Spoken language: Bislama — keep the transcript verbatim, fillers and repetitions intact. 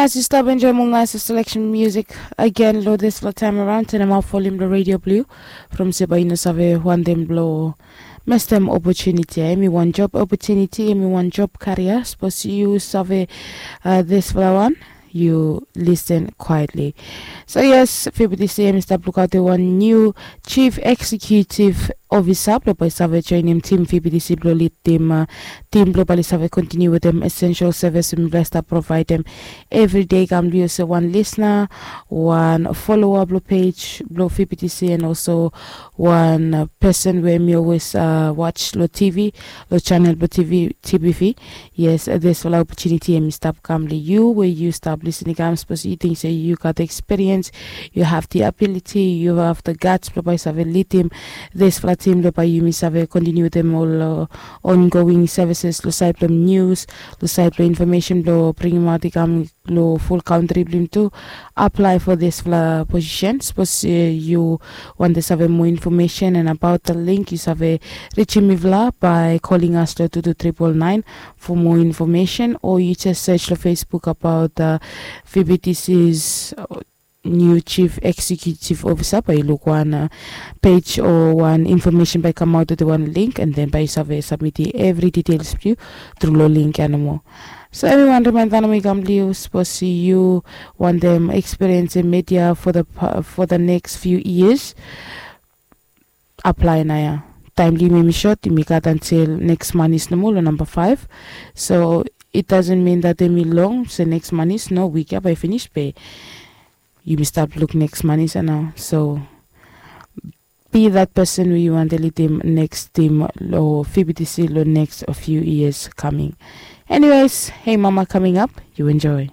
As yu stap enjoim ol nais selection music agen long dispela taim around, tenem ap volim long redio blong yu. From se bae yu no save wantem blong mestem opotuniti ya. Em i wan job opotuniti, em i wan job karia. Sapos yu save uh, dispela wan, yu listen quietly. So yes, fibitisi em i stap lukaut wan new chief executive officer blong bae save joinim tim fibitisi blong lidim uh, tim blong bae save kontiniu wetem essential service mipela stap provaidem everyday. Kam blong yu olsem wan lisna, wan followa blong page blong fibitisi, and also wan uh, person we mi always uh, watch long tv, long channel blong tv, tbv. Yes, uh, dispela opportunity em i stap kam long yu we yu stap listening. Kam sapos yu ting se yu gat experience, you have the ability, you have the guts blong bae save lidim dispela tim blong bae yumi save kontiniu wetem ol uh, ongoing services long sait blong news, long sait blong information blong bringim aut i kam long full country blong tu. Apply for dispela position. Sapos uh, yu want to save more information and about the link, yu save reachim mipela by calling us long two two triple nine for more information, or you just search long Facebook about uh, fibitisi's uh, new chief executive officer, bae yu luk wan uh, page o wan information bae kamaut wetem wan link, and then bae yu save submiti evri details blong yu tru long link ya nomo. So everyone, remain that we come to you suppose you want them experience in media for the for the next few years. Apply naya. Time limit mi short, mi gat until next month is no more, number five. So it doesn't mean that they me long, so next month is no week ya by finish pay. You may start look next month is now. So be that person who you want to lead them next team lo F B T C lo next a few years coming. Anyways, hey mama coming up, you enjoy.